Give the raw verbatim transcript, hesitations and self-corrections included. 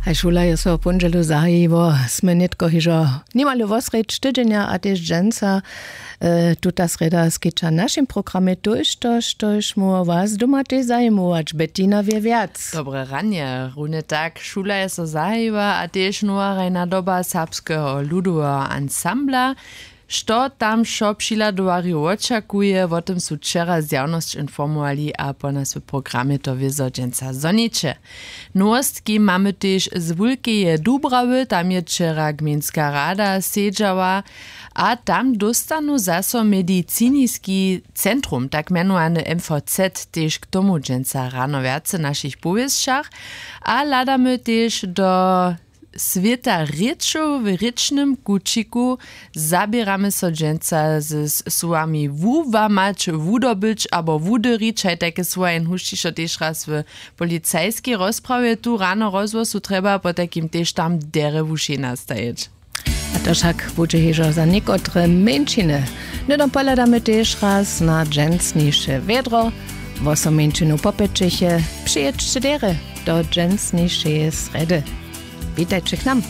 A šula je so w póndźelu zahajiło, smy nětko hižo nimale wosrjedź tydźenja a tež dźensa. Tuta srjeda skeća w našim programje tójšto štož móhło was doma tež zajimować. Bettina wě wjac. Dobre ranje. Runje tak, šula je so zahajiła a tež nowa hrajna doba serbskeho ludoweho ansambla. Što tam wšo přihladowarjow wočakuje, wo tym su wčera zjawnosć informowali a po nas w programje to wězo dźensa zhoniće. Nowostki mamy tež z wulkeje dubrawy, tam je wčera gmejnska rada sedźała a tam dóstanu zaso mediciniski centrum, tak mjenowany mvz, tež k tomu dźensa rano wjace w našich powěsćach. A hladamy tež do swěta rěčow w rěčnym kućiku. Zaběramy so dźensa z słowami wułamać, wudobyć abo wudyrić, haj tajke słowa jen hušćišo tež raz w policajskej rozprawje tu rano rozhłosu trjeba potajkim tež tam derje wušej nastajeć. A to wšak budźe hižo za někotre mjeńšiny. Hnydom pohladamy tež raz na dźensniše wjedro. Wosom mjeńšinu popjećeše, přijědźće derje do dźensnišeje srjedy. Witajće k nam.